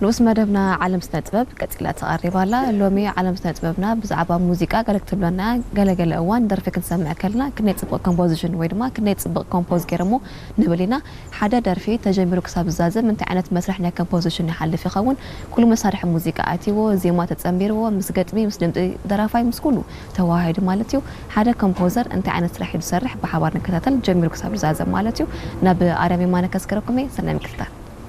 ንኡስ መደብና ዓለም ስነ ጥበብ ቀጺላ ተቐሪባ ኣላ። ሎሚ ዓለም ስነ ጥበብና ብዛዕባ ሙዚቃ ገለ ክትብለና፣ ገለገለ እዋን ደርፊ ክንሰምዕ ከለና ክንደይ ጽቡቕ ኮምፖዚሽን ወይ ድማ ክንደይ ጽቡቕ ኮምፖዝ ገይሮሞ ንብል ኢና። ሓደ ደርፊ ተጀሚሩ ክሳብ ዝዛዘም እንታይ ዓይነት መስርሕ ናይ ኮምፖዚሽን ይሓልፍ ይኸውን? ኩሉ መሳርሒ ሙዚቃ ኣትይዎ፣ ዜማ ተጸንቢርዎ፣ ምስ ገጥሚ፣ ምስ ድምጺ ደራፋይ፣ ምስ ኩሉ ተዋሃሂዱ ማለት እዩ። ሓደ ኮምፖዘር እንታይ ዓይነት ስራሕ እዩ ዝሰርሕ ብሓባር ንከታተል፣ ጀሚሩ ክሳብ ዝዛዘም ማለት እዩ። ናብ ኣርያም የማነ ከስከረኩም እየ። ሰናይ ምክትታል።